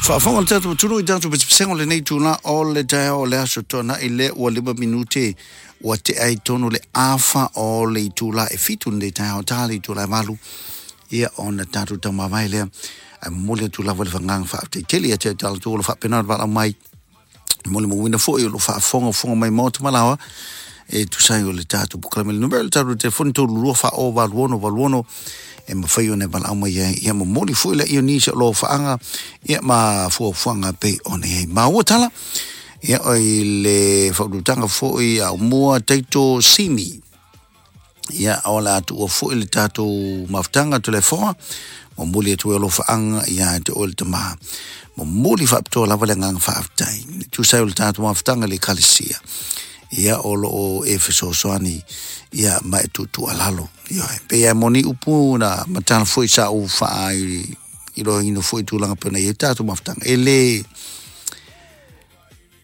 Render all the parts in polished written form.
Faafofoga le tatou atunuu i tatou pesepesega o lenei itula o le taeao o le aso Toonai lea ua 5 minute ua tea ai tonu le afa o le itula e 7 lenei taeao, ta le itula e 8 ia ona tatou taumavae lea. Ae momoli atu lava le fagaga faafetai tele ia te tatou o lo faapena ona valaau mai molimauina foi o lo faafogafoga mai maota ma laoa e tusa ai o le tatou polokalame. Le numera o le tatou telefoni, 32 40 86, e mafai ona e valaau mai ai ia momoli foi le ia nisi o lo faaga ia ma fuafuaga pei ona i ai maua tala ia o i le faaututaga foi a umua taito simi ia o le atu ua foi le tatou mafutaga telefoa momoli atu e alofaaga ia te oe le tamā. Momoli faapitoa lava le agaga faafetai tusa ai o le tatou mafutaga le ekalesia ia o loo e fesoasoani ia ma e tuutuualalo ia pe ia moni upu na matala foi sa ou faa i loaina foi tulaga pena i tatou mafutaga e le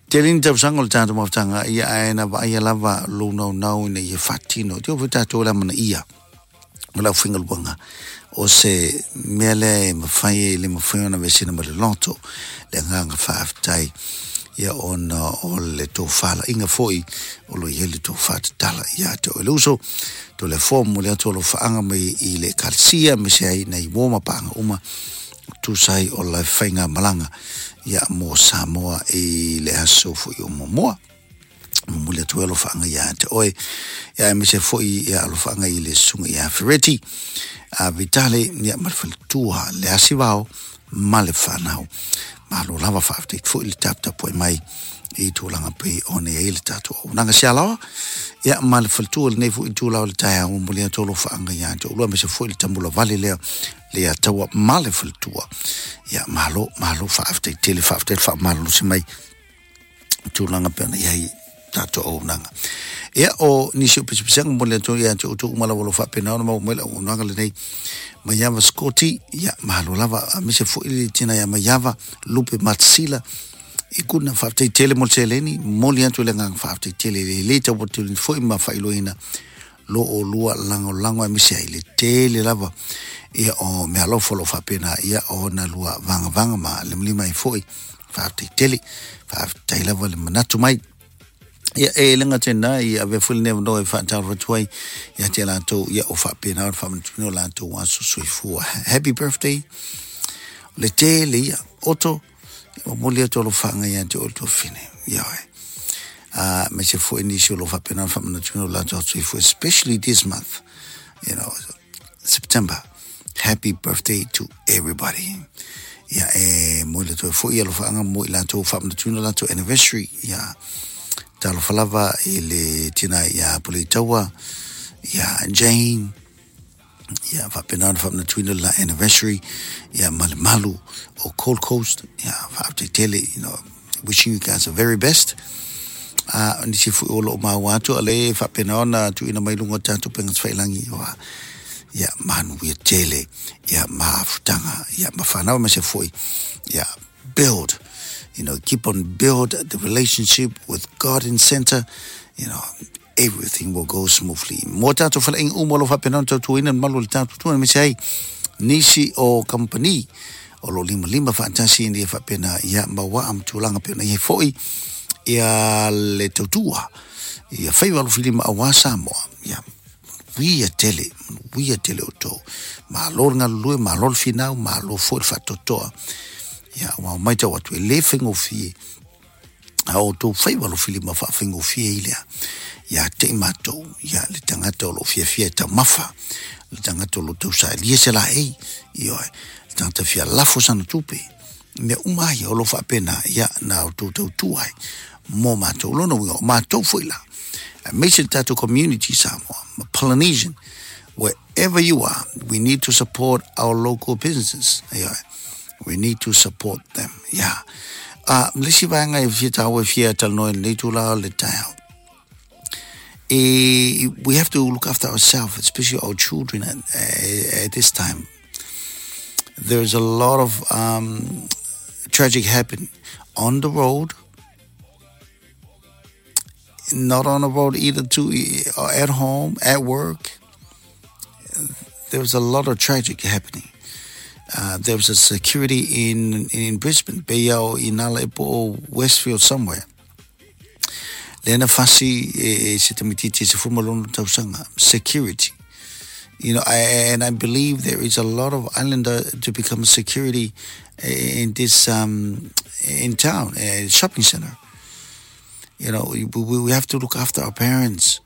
tele ni tausaga o le tatou mafutaga ia, ae na vaaia lava lou naunau ina ia faatino teo foi tatou le amanaia o le aufaigaluega o se mea lea e mafai e le mafai ona vesina ma le loto le agaga faafetai ia ona o le tofalaiga foi o lo i ai le tofa tatala ia te oe le uso to le fomo le atu o lo faaga mai i le ekalesia me se ai nei uo ma paaga uma tusa ai o le faiga malaga ia mo Samoa i le aso foi o muamua. Momoli atu ai alofaaga ia te oe ia aemaise foi ia alofaaga i le susuga ia Fereti a Vitale ia ma le faletua le Asivao ma le fanau. Malo lava, faafetai foi le taputapuai mai i tulaga pei ona i ai le tatou auaunaga sialaoa ia ma le faletua lenei foi itula o le taeao. Momoli atu alofaaga ia te oulua aemaise foi le tamula vale lea le ataua ma le faletua ia. Malo, malo, faafetai tele, faafetai le faamalolosi mai tulaga pe ona i ai tatou auaunaga. Ia o nisi o pisipisiga mo le atu ia te outou uma lava o lo faapena ona maua mai le auaunaga lenei. Maiava Scotty, ia malo lava, aemaise foi le tina ia Maiava Lupe Matsila i kuna. Faafetai tele mo le seleni. Momoli atu le agaga faafetai tele le le tau foi ma faailoaina lo o lua lagolago aemaise ai le tele lava ia o meaalofa o lo o faapena ia ona lua vagavaga ma limalima ai foi. Faafetai tele, faafetai lava le manatu mai. Ia e le gata i avea foi lenei avanoa e faatalofa atu ai ia te latou ia o faapena ona faamanatuina o latou aso soifua. Happy birthday le tele ia oto momoli atu alofaaga ia te oe le tuafine ia oe a me se foi nisi o lo faapena ona faamanatuina o latou aso soifua, especially this month, September. Happy birthday to everybody. Ia e mo le toe foi alofaaga mo i latou faamanatuina latou anniversary. Ia talofa lava i le tina ia Puleitaua ia Jane ia faapena ona faamanatuina la anniversary ia ma le malu o Gold Coast. Ia faafetai tele, wishing you guys the very best. A nisi foi o loo maua atu a le faapena ona tuuina mai luga o tatou upega tafailagi ia, ia manuia tele ia mafutaga ia ma fanau ma se foi ia build you know keep on build the relationship with God in center, everything will go smoothly. Mo tatou faleaiga uma o lo faapena ona tautuaina le malu o le tatou tua aemaise ai nisi o company o lo limalima faatasi ina ia faapena ia mauaa ma tulaga pe ona i ai foi ia le tautua ia faiva alofilima auā Samoa. Ia manuia tele, manuia tele outou. Malo le galulue, malo le finau, malo foi le faatoatoa ia ua matau atu e le faigofie a outou faiva alofilima faafaigofie i lea ia te i matou ia le tagata o loo fiafia e taumafa, le tagata o lo tausaelia se laei ioe, le tagata fia lafo sana tupe, mea uma ai o lo faapena ia na outou tautua ai mo matou. Lona uiga o matou foi la aemaise le tatou community Samoa ma Polynesian, wherever you are, we need to support our local businesses. Yeah. We need to support them. Yeah. Le isi vaega e fia taua e fia talanoa i lenei tula o le taeao. We have to look after ourselves, especially our children at this time. There's a lot of tragic happen on the road, not on the road either, too, at home, at work. There's a lot of tragic happening. There was a security in Brisbane, pei ia o i nala e po o Westfield somewhere. Lea na fasi e se tamaitiiti e 16 tausaga, security. And I believe there is a lot of islander to become security in this in town, shopping center. We have to look after our parents.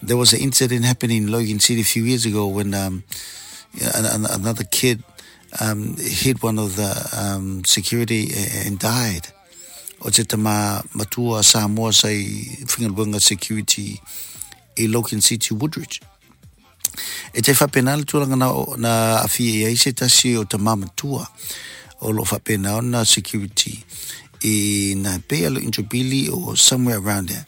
There was an incident happening in Logan City a few years ago when another kid hit one of the security and died. O te tama matua Samoa sa i faigaluega security i Logan City, Woodridge. E te faapena le tulaga na aafia i ai se tasi o tama matua o lo o faapena ona security i na pei a lo Introbili or somewhere around there.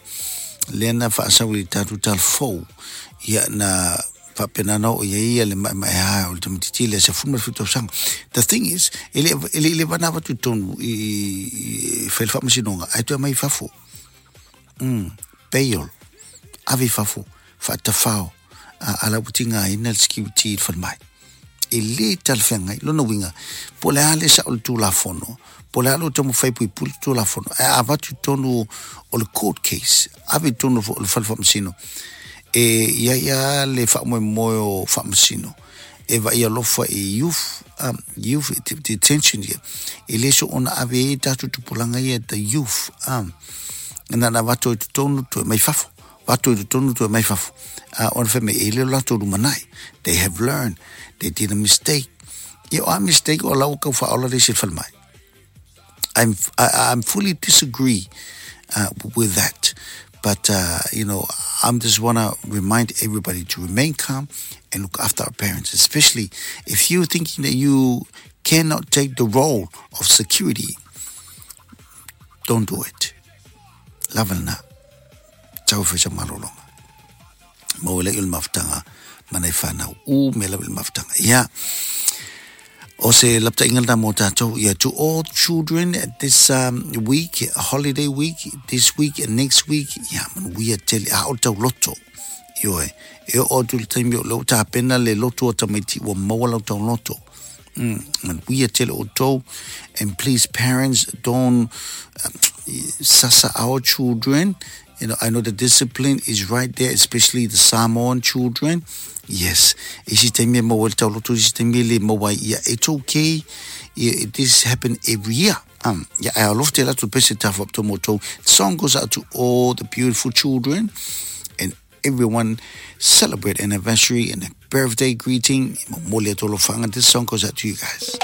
Lea na faasau i le tatou talafou, ia na faapena na oo i ai ia le maemaea o le tamaitiiti lea 17 tausaga. The thing is, e le e le i leva ona avatu i totonu i fai le faamasinoga ae toe aumai i fafo. Bail, ave i fafo, faatafao, a la ua tigaina le security i le falemai. E le talafeagai, lona uiga, po o le a le sao o le Tulafono, po o le a lou taumafai e puipui le Tulafono, ae a avatu i totonu o le court case, ave i totonu o le fale faamasino, e i ai lava le faamoemoe o faamasino e vaai alofa i youth, youth detention ia, e le soona ave ai tatou tupulaga ia, the youth, na ona avatu ai i totonu toe mai fafo, avatu i totonu toe mai fafo. Ona fai mai e le o latou lumanai. They have learned, they did a mistake. Ia o a mistake o la ua tau faaola le isi i le falemai. I'm fully disagree with that. But, I'm just want to remind everybody to remain calm and look after our parents, especially if you're thinking that you cannot take the role of security, don't do it. Lava lena. Tau fai sa malologa. Maua lea i o le mafutaga ma nai fanau. U mea lava i le mafutaga. Ia, o se lapataiga lena mo tatou. Ia, to all children at this week, holiday week, this week and next week, ia, manuia tele, a o le tauloto. Ioe, e oo atu i le taimi o lea ua tapena le loto o tamaiti ua maua lau tauloto. Manuia tele outou, and please parents, don't sasa our children. I know the discipline is right there, especially the Samoan children. Yes, isi taimi e maua ai le tauloto, isi taimi e le maua ai. Ia, it's okay. Yeah, this happen every year. Yeah, ae alofa tele atu pese tafa apito mo outou. The song goes out to all the beautiful children and everyone celebrate anniversary and a birthday greeting. Momoli atu alofaga. This song goes out to you guys.